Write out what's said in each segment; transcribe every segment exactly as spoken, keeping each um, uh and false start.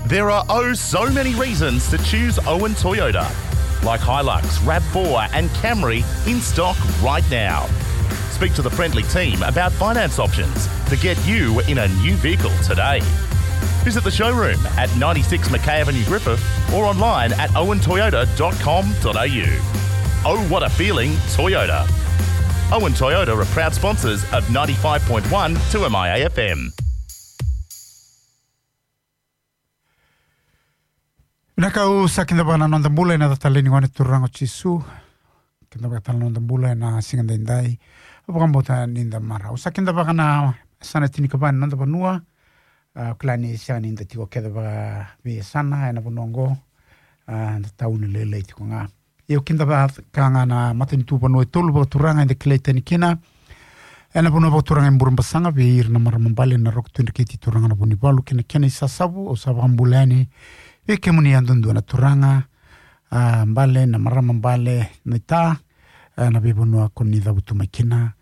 There are oh so many reasons to choose Owen Toyota, like Hilux, RAV four and Camry in stock right now. Speak to the friendly team about finance options to get you in a new vehicle today. Visit the showroom at ninety-six Mackay Avenue, Griffith, or online at owen toyota dot com dot a u. Oh, what a feeling, Toyota. Owen Toyota are proud sponsors of ninety-five point one two M I A F M. Vinaka, au sa kidavaka na noda bula ena yaca talei ni Gone Turaga o Jisu. Kidavaka tale na noda bula ena siga daidai. Au vakabauta ni da marau. Au sa kidavaka na yasana tinikava ni noda vanua. A, au kila ni sega ni da tiko kece vakaveiyasana ena vanua oqo. A, da tauni lailai tiko ga. Io, kidavaka ga na matanitu vanua e tolu vakaturaga eda kilai tani kina. Ena vanua vakaturaga e Burebasaga, vei ira na marama bale na Roko Tui Dreketi Turaga na Vunivalu kei na kena isasavu, au sa vakabula yani vei kemuni yadudua na turaga, a, bale, na marama bale, na ita, a, na veivanua ko ni cavutu mai kina,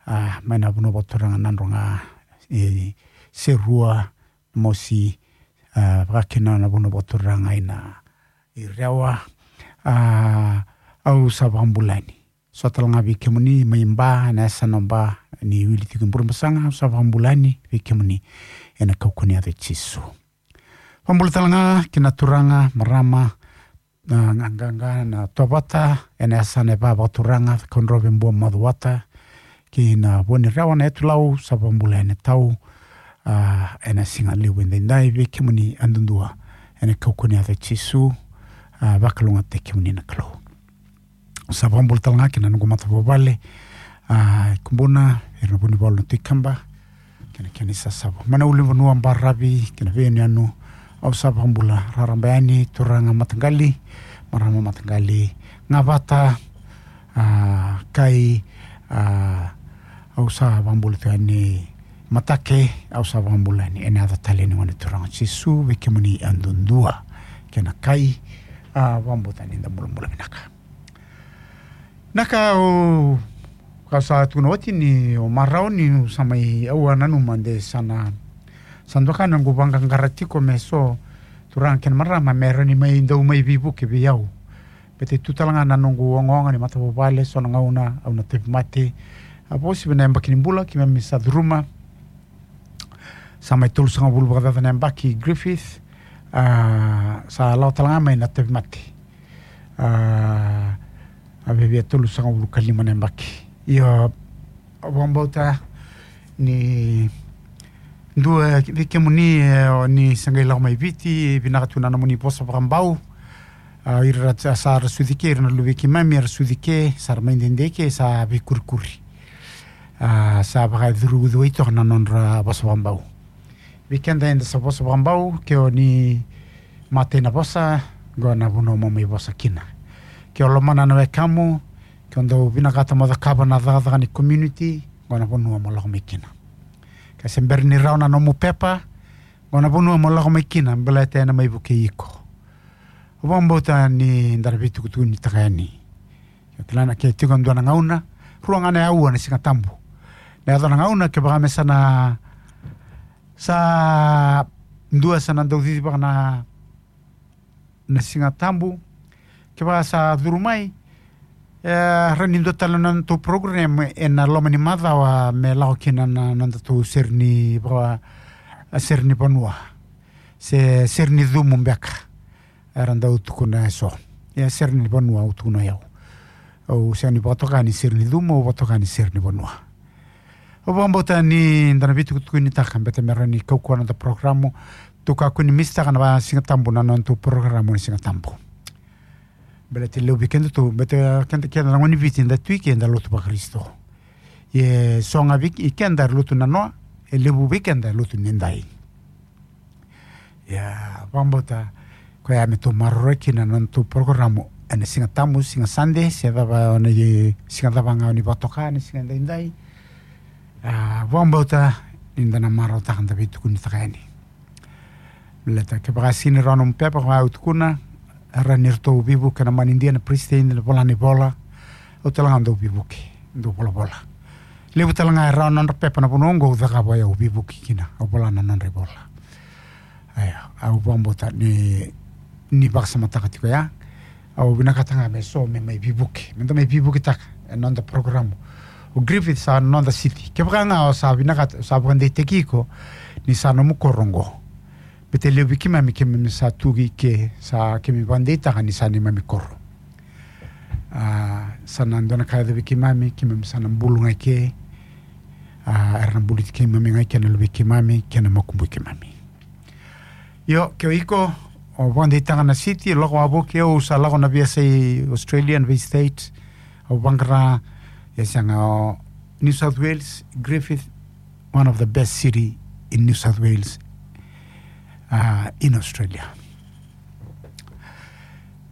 a, mai na vanua vakaturaga Nadroga, e, Serua, Mosi, a, vakakina na vanua vakaturaga ina i Rewa, a, au sa vakabula yani. So tale ga vei kemuni mai Ba, na yasana Ba, ni wili tiko i Burebasaga, au sa vakabula yani vei kemuni ena kaukaua ni yaca i Jisu. Vakabula tale ga kina turaga, marama, na qaqaqa, na tovata, ena yasana e va vakaturaga, Cakaudrove, Bua, Macuata, kei na Vuanirewa, na yatu Lau, sa vakabula yani tau, a, ena siga levu edaidai vei kemuni yadudua ena kaukaua ni yaca i Jisu, a, vakalougatataki kemuni na Kalou. Sa vakabula tale ga kina noqu matavuvale, a, Kubuna, ira na Vunivalu na Tui Kaba, kei na kena isasavu. Mai na ulunivanua baravi kei na veiyanuyanu, au sa vakabula raraba yani, turaga mataqali, marama mataqali, gavata, a, kai, a, au sa vakabula tu yani, matake, au sa vakabula yani ena yaca talei ni Gone Turaga o Jisu vei kemuni yadudua kei na kai, a, vakabauta ni da bulabula vinaka. Na ka au, ka sa tukuna oti ni o marau ni au sa mai, au a nanuma de sa na, sa doka na noqu vaqaqara tiko me so turaga kei na marama me rawa ni mai dau mai veivuke vei au. Baleta e tu tale ga na noqu ogaoga ni matavuvale, so na gauna au na tauvimate. A, vakauasivi na yabaki ni bula keimami sa curuma, sa mai tolusagavulu vakacaca na yabaki i Griffith, a, sa lako tale ga mai na tauvimate. A, a viavia tolusagavulu ka lima na yabaki. Io, au vakabauta ni dua vei kemuni, e, o ni sa qai lako mai Viti, vinaka tu na nomuni vosa vakabau. A, ira sa, sa ra sucu i ke, ira na luve i keimami era sucu i ke, sa ra mai dede i ke, sa veikurikuri. A, sa vakacurucuruci toka na nodra vosa vakabau. Vei keda eda sa vosa vakabau, ke o ni matai na vosa, qo na vanua mo mai vosa kina. Ke o lomana na wekamu, ke o dau vinakata mo cakava na cakacaka ni community, qo na vanua mo lako mai kina. Ke se bera ni rawa na nomu pepa, qo na vanua mo lako mai kina, baleta ena mai vukei iko. Au vakabauta ni da na veitukutukunitaka yani. Kila na ke tiko e dua na gauna, rua ga na aua na Siga Tabu. Na yaco na gauna kevaka me sa na, sa dua sa na dau cicivaka na, na Siga Tabu. Kevaka sa curu mai, e, rawa ni dua tale na nodatou program ena loma ni macawa me lako kina na, na nodatou sere ni va-, sere ni vanua. Se sere ni cumu beka. Era dau tukuna e so. Ia sere ni vanua au tukuna o yau. Au sega ni vakatoka ni sere ni cumu, au vakatoka ni sere ni vanua. Au vakabauta ni da na veitukutukunitaka, baleta me rawa ni kaukauwa na noda porokaramu. Tou kakua ni misitaka na va Siga Tabu na nodatou porokaramu ni Siga Tabu. Baleta e levu vei kedatou, baleta keda, keda na gone ni Viti da tu i ke da lotu vaKarisito. Ia e so ga vei keda era lotu nanoa, e levu vei keda e lotu nidai. Ia, vakabauta, koya me tou maroroya kina na nodatou porokaramu ena Siga Tabu, Siga Sade, se cava, na i-, siga cava ga o ni vakatoka, na siga edaidai. A, vakabauta ni da na marautaka, da veitukunitaka yani. Baleta kevaka sega ni rawa nomu pepa, koya au tukuna, e rawa ni ratou veivuke na manidia, na peresitedi, na vola ni vola. Au tale ga dau veivuke, dau volavola. Levu tale ga e rawa na nodra pepa na vanua oqo, au cakava o yau, veivuke kina, au vola na nodra ivola. Io, au vakabauta ni, ni vakasamataka tiko ya. Au vinakata ga me so me mai veivuke, me da mai veivuketaka ena noda program. O Griffith sa noda city. Kevaka ga o sa vinakata, sa vakadeitaki iko ni sa nomu koro oqo, baleta e levu vei keimami, keimami sa tu i ke, sa keimami vakadeitaka ni sa neimami koro. A, sa na dua na ka e yaco vei keimami, keimami sa na bulu ga i ke. A, era na buluti keimami ga i ke na luvei keimami kei na makubui keimami. Io, ke o iko o vakadeitaka na city, lako wavoki. Au sa lako na veiyasai Australia, na vei state. Au vaqara, e sega, o New South Wales, Griffith, one of the best city in New South Wales, uh, in Australia.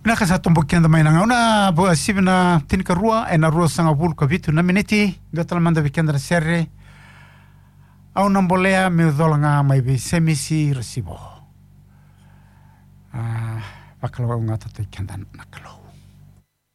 Vinaka, sa toboki keda mai na gauna, vo-, sivi na tinikarua ena ruasagavulu ka vitu na miniti. Dua tale mada vei keda na sere. Au na bolea meu cola ga mai vei Semisi Rasivo. A, vakalougatataki keda na Kalou.